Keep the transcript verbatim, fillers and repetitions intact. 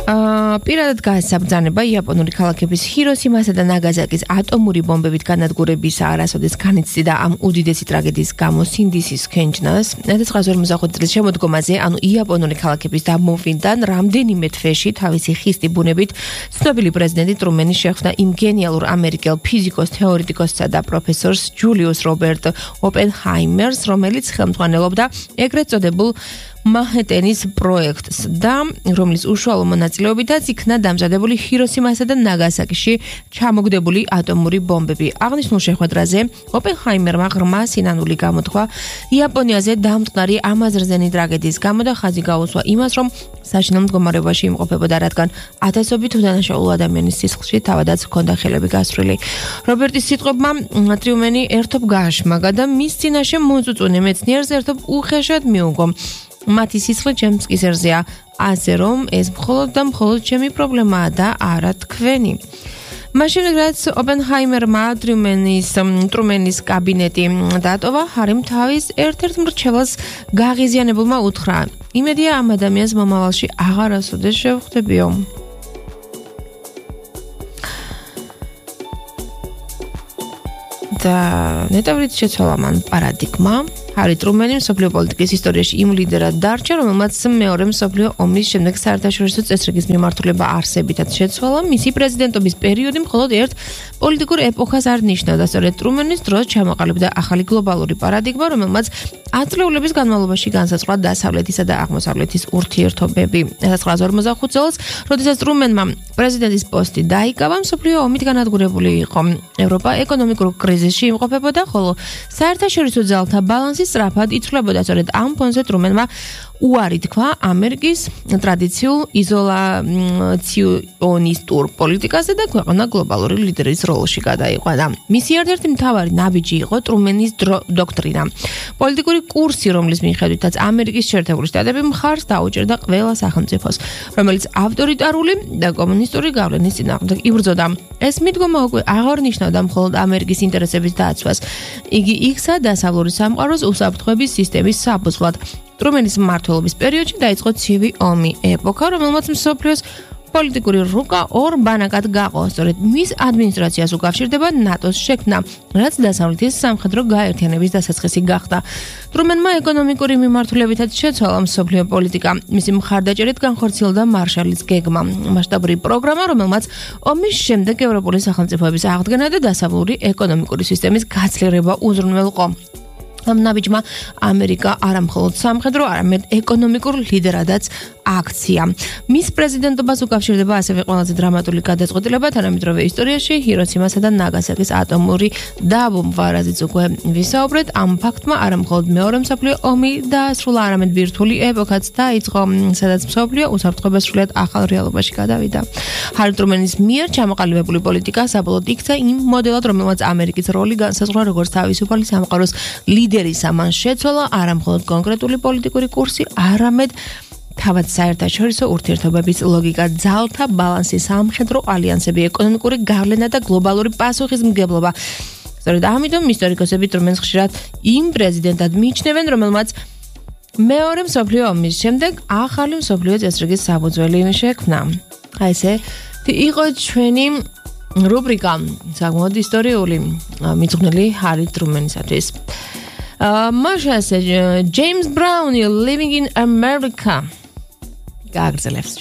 აა პირადად გაასაბრძანება იაპონური ქალაქების ჰიროსიმასა და ნაგაზაკის ატომური ბომბებით განადგურების არასოდეს განიცდიდა ამ უდიდესი ტრაგედიის გამო სინდისის ქენჯნას. ერთ ათას ორმოცდახუთი წლის შემოდგომაზე, ანუ იაპონური ქალაქების დამოუკიდებლობიდან რამდენიმე თვეში თავისი ხისტი ბუნებით ცნობილი პრეზიდენტი ტრუმენი შეხვდა იმ გენიალურ ამერიკელ ფიზიკოს თეორეტიკოსსა და პროფესორს ჯულიუს რობერტ ოპენჰაიმერს, რომელიც ხელმძღვანელობდა ეგრეთ წოდებულ მანჰეტენის პროექტს და რომლის უშუალო მონაწილეობითაც იქნა დამზადებული ჰიროსიმასა და ნაგასაკიში ჩამოგდებული ატომური ბომბები. აღნიშნულ შეხვედრაზე ოპენჰაიმერმა ღრმა სინანული გამოთქვა იაპონიაზე დამწყნარი ამაზრზენი ტრაგედიის გამო და ხაზი გაუსვა იმას, რომ საშინელ მდგომარეობაში იმყოფებოდა, რადგან ათასობით უდანაშაულო ადამიანის სისხლში თავადაც ჰქონდა ხელები გასწრილი. რობერტის სიტყვებმა ტრიუმენი ერთობ გააშმაგა და მის წინაშე მოწუწუნე მეცნიერს ერთობ უხეშად მიუგო. მათი სისხლი ჩემს კისერზეა, ასე რომ ეს მხოლოდ და მხოლოდ ჩემი პრობლემაა და არა თქვენი. მაშინ რაც ოპენჰაიმერმა ტრიუმენის ტრუმენის კაბინეტი დატოვა, ჰარიმ თავის ერთ-ერთ მრჩეველს გაღიზიანებულმა უთხრა: იმედია ამ ადამიანს მომავალში აღარასოდეს შევხვდებიო. და ნეტავრით შეცვალა მან პარადიგმა. ჰარი ტრუმენი მსოფლიო პოლიტიკის ისტორიაში იმ ლიდერად დარჩა, რომელმაც მეორე მსოფლიო ომის შემდეგ საერთაშორისო წესრიგის მიმართულება არსებითად შეცვალა. მისი პრეზიდენტობის პერიოდი მხოლოდ ერთ პოლიტიკურ ეპოქას არ ნიშნავდა. სწორედ ტრუმენის დროს ჩამოყალიბდა ახალი გლობალური პარადიგმა, რომელმაც ათწლეულების განმავლობაში განსაზღვრა დასავლეთისა და აღმოსავლეთის ურთიერთობები. ერთ ათას ორმოცდახუთი წელს, როდესაც ტრუმენმა პრეზიდენტის პოსტი დაიკავა, მსოფლიო ომით განადგურებული იყო. ევროპა ეკონომიკურ კრიზისში იმყოფებოდა, ხოლო საერთაშორისო ძალთა ბალანსი სწრაფად იცვლებოდა. სწორედ ამ ფონზე ტრუმენმა უარი თქვა ამერიკის ტრადიციულ იზოლაციონისტურ პოლიტიკაზე და ქვეყანა გლობალური ლიდერის როლში გადაიყვანა. მისი ერთ-ერთი მთავარი ნაბიჯი იყო ტრუმენის დოქტრინა, პოლიტიკური კურსი, რომლის მიხედვითაც ამერიკის შეერთებული შტატები მხარს დაუჭერდა ყველა სახელმწიფოს, რომელიც ავტორიტარული და კომუნისტური გავლენის წინააღმდეგ იბრძოდა. ეს მიდგომა უკვე აღარ ნიშნავდა მხოლოდ ამერიკის ინტერესების დაცვას, იგი იქცა დასავლური სამყაროს უსაფრთხოების სისტემის საფუძვლად. ტრუმენის მმართველობის პერიოდში დაიწყო ცივი ომი, ეპოქა, რომელმაც მსოფლიოს პოლიტიკური რუკა ორ ბანაკად გაყო. სწორედ მის ადმინისტრაციას უკავშირდება ნატოს შექმნა, რაც დასავლეთის სამხედრო გაერთიანების დასაწყისი გახდა. ტრუმენმა ეკონომიკური მიმართულებითაც შეცვალა მსოფლიო პოლიტიკა. მისი მხარდაჭერით განხორციელდა მარშალის გეგმა, მასშტაბური პროგრამა, რომელმაც ომის შემდეგ ევროპული სახელმწიფოების აღდგენა და დასავლური ეკონომიკური სისტემის გაცვლილება უზრუნველყო. ამ ნაბიჯმა ამერიკა არა მხოლოდ სამხედრო, არამედ ეკონომიკურ ლიდერადაც აქცია. მის პრეზიდენტობას უკავშირდება ასევე ყველაზე დრამატული გადაწყვეტილება თანამედროვე ისტორიაში ჰიროსიმასა და ნაგასაკის ატომური დაბომბვა, რაზეც უკვე ვისაუბრეთ. ამ ფაქტმა არა მხოლოდ მეორე მსოფლიო ომი დაასრულა, არამედ ბირთვული ეპოქაც დაიწყო, სადაც მსოფლიო უსაფრთხოება სრულიად ახალ რეალობაში გადავიდა. ჰარი ტრუმენის მიერ ჩამოყალიბებული პოლიტიკა საბოლოოდ იქცა იმ მოდელად, რომელმაც ამერიკის როლი განსაზღვრა როგორც თავისუფალი სამყაროს ლიდერისა. მან შეცვალა არა მხოლოდ კონკრეტული პოლიტიკური კურსი, არამედ თავად საერთაშორისო ურთიერთობების ლოგიკა, ძალთა ბალანსი, სამხედრო ალიანსები, ეკონომიკური გავლენა და გლობალური პასუხისმგებლობა. სწორედ ამიტომ ისტორიკოსები ტრუმენს ხშირად იმ პრეზიდენტად მიიჩნევენ, რომელმაც მეორე მსოფლიო ომის შემდეგ ახალი მსოფლიო წესრიგის საფუძველი შექმნა. აი ესე იყო ჩვენი რუბრიკა საკმაოდ ისტორიული მიძღვნილი ჰარი ტრუმენისათვის. Masha said, James Brown, you're living in America. Gagzelevs,